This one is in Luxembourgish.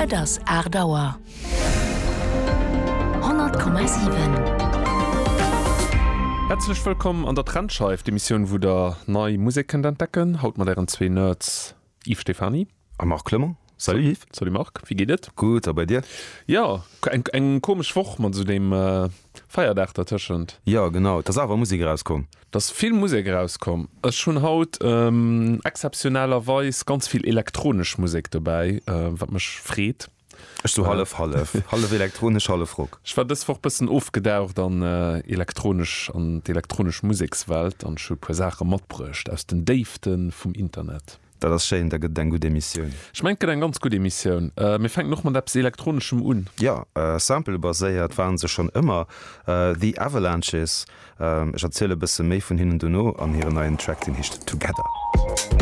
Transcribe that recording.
Et ass 8 Auer. 100,7. Häerzlech wëllkomm an der Trendscheif, d'Emissioun wou der nei Musek kënnt entdecken. Haut mat ären zwee Nerds Yves Stephany. A Marc Clement. Salut Yves. Salut Marc, wéi geet et? Gutt, a bei dir? Jo, eng eng komesch Woch mat esou deem Feierdag dertëschent. Jo, genau, et ass awer Musek erauskomm. Et ass vill Musek erauskomm. Ech hunn haut exzeptionellerweis ganz vill elektronesch Musek dobäi, wat mech freet. Ech sou hallef hallef, hallef elektronesch, hallef Rock. Ech war dës Woch bëssen ofgedaucht an elektronesch, an d'elektronesch Musekswelt an ech hu e puer Saache matbruecht aus den Déifte vum Internet. Dat ass schéin, da gëtt et eng gutt Emissioun. Ech mengen et gëtt eng ganz gutt Emissioun. Mir fänken och mat eppes Elektroneschem un. Jo, Sample-baséiert waren se schonn ëmmer, The Avalanches. Ech erziele bësse méi vun hinnen dono an hiren neien Track, deen heescht Together.